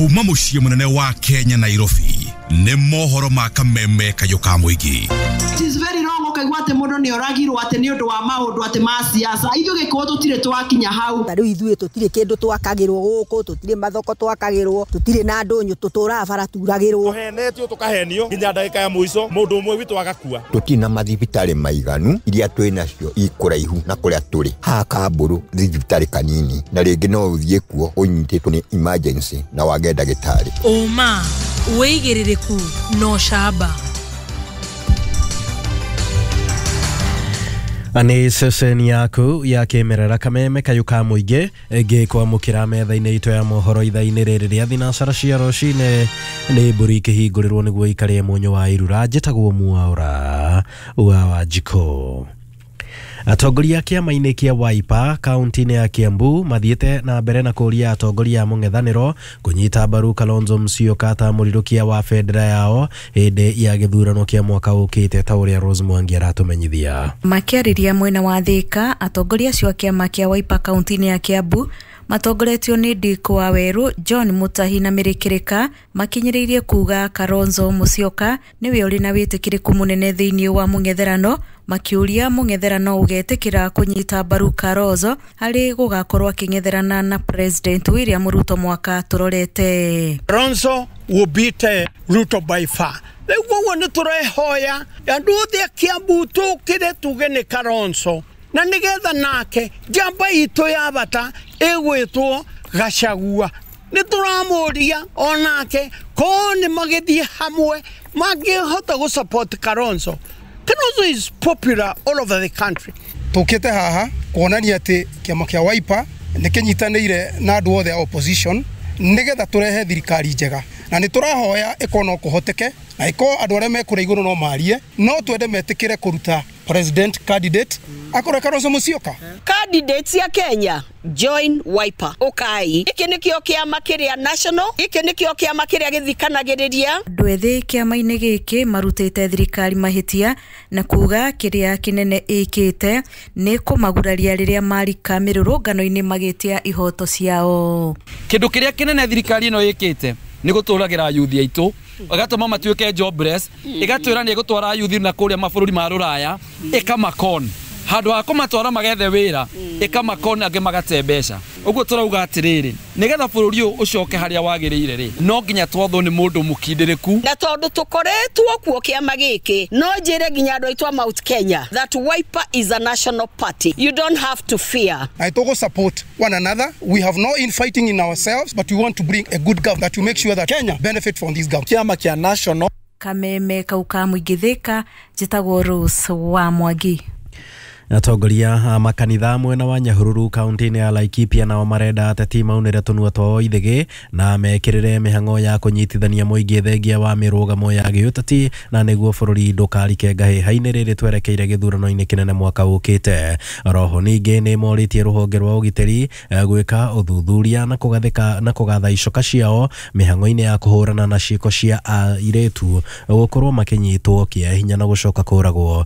Kuma mũciĩ mũnene wa Kenya Nairobi nĩ mohoro ma kameme kayũ ka mũingĩ. It is very wrong ũkaigua atĩ mũndũ nĩ oragirwo atĩ nĩ ũndũ wa maũndũ atĩ ma siasa. Ithuĩ gĩkũyũ tũtirĩ twakinya hau. Ta rĩu ithuĩ tũtirĩ kĩndũ twakagĩrwo gũkũ, tũtirĩ mathoko twakagĩrwo, tũtirĩ na ndũnyũ, tũtũraga bara turagĩrwo. Tũhenetio tũkahenio nginya ndagĩka ya mũico mũndũ ũmwe witũ agakua. Tũtirĩ na mathibitarĩ maiganu, iria twĩ nacio ikũraihu na kũrĩa tũrĩ. Haha Kambũrũ thibitarĩ kanini na rĩngĩ no ũthiĩ kuo ũnyitĩtwo nĩ emergency na wage ndagĩtarĩ. Ũma, wĩigĩrĩrĩku na ũcamba. Nĩ ceceni yaku ya kĩmerera kameme kayũ ka mũingĩ ngĩkwamũkĩra metha-inĩ itũ ya mohoro ithaa-inĩ rĩrĩ rĩa thinacara cia rũcinĩ. Nĩ mbũri ikĩhingũrĩrwo nĩguo ikarĩe mũnyũ wa irura. Njĩtagwo Mwaũra wa Wanjikũ. Atongoria kĩama-inĩ kĩa Wiper kaunti-inĩ ya Kiambu mathiĩte na mbere na kũria atongoria a mũng'ethanĩro kũnyita mbaru Kalonzo Musyoka ta mũrirũkia wa bendera yao hĩndĩ ya gĩthurano kĩa mwaka ũkĩte, ta ũrĩa Rose Mwangi aratũmenyithia. Makĩarĩria mwena wa Thika, atongoria acio a kĩama kĩa Wiper kaunti-inĩ ya Kiambu matongoretio nĩ Dick Waweru, John Mutahi na Mĩrĩkĩrĩka makinyĩrĩirie kuga Kalonzo Musyoka nĩwe ũrĩ na wĩtĩkĩrĩku mũnene thĩinĩ wa mũng'etherano, makiũria mũng'etherano ũgetĩkĩra kũnyita mbaru Kalonzo harĩ gũgakorwo akĩng'etherana na President William Ruto mwaka tũrorete. Kalonzo will beat Ruto by far. Rĩu ũguo nĩ tũrehoya andũ othe a Kiambu tũkĩre tuge nĩ Kalonzo, na nĩgetha nake njamba itũ ya bata ĩgwĩtwo Gachagua. Nĩ tũramũria onake ko nĩ magĩthiĩ hamwe mangĩhota gũ support Kalonzo. Kalonzo is popular all over the country. Tũkĩte haha kuonania atĩ kĩama kĩa Wiper nĩ kĩnyitanĩire na andũ othe a opposition nĩgetha tũrehe thirikari njega, na nĩ tũrahoya ĩkorwo no kũhoteke na ĩkorwo andũ arĩa me kũrĩa igũrũ no marie, no twende metĩkĩre kũruta president candidate akorwo Kalonzo Musyoka. Candidates ya Kenya join Wiper. Ukai iki nikio kiama kiria national, iki nikio kiama kiria githikanagiriria. Andũ ethĩ kĩama-inĩ gĩkĩ marutĩte thirikari mahĩtia na kuga kĩrĩa kĩnene ĩkĩte nĩ kũmaguraria rĩrĩa marika mĩrũrũngano-inĩ magĩtia ihoto ciao. Kĩndũ kĩrĩa kĩnene thirikari ĩno ĩkĩte nĩ gũtũragĩra yuthi aitũ, ĩgatũma matuĩke jobless, ĩgatwĩra nĩ ĩgũtwara yuthi na kũrĩa mabũrũri ma rũraya, ĩkamakon handũ ha kũmatwara magethe wĩra, ĩkamakon angĩ magate mbeca. Ũguo tũrauga atĩrĩrĩ, nĩgetha bũrũri ũyũ ũcoke harĩa wagĩrĩire rĩ, no nginya twathwo nĩ mũndũ mũkindĩrĩku. Na tondũ tũkoretwo kuo kĩama gĩkĩ, no njĩre nginya andũ aitũ a Mount Kenya that Wiper is a national party. You don't have to fear. I togo support one another. We have no infighting in ourselves, but we want to bring a good government that will make sure that Kenya benefit from this government. Kĩama kĩa national. Kameme kau ka mũingĩ Thika, njĩtagwo Rose wa Mwangi. Atongoria a makanitha mwena wa Nyahururu kaunti-inĩ ya Laikipia nao marenda ateti maunĩre tũnua twao ithĩgĩ na mekĩrĩre mĩhang'o ya kũnyitithania mũingĩ thengia wa mĩrũgamo ya gĩũteti na nĩguo bũrũri ndũkarike ngahĩha-inĩ rĩrĩ twerekeire gĩthurano-inĩ kĩnene mwaka ũkĩte. Roho ningĩ nĩ morĩtie rũhonge rwa ũgitĩri gwĩka ũthuthuria na kũgathĩka na kũgatha icoka ciao mĩhang'o-inĩ ya kũhũrana na ciĩko cia airĩtu gũkorwo makĩnyitwo kĩa hinya na gũcoka kũragwo.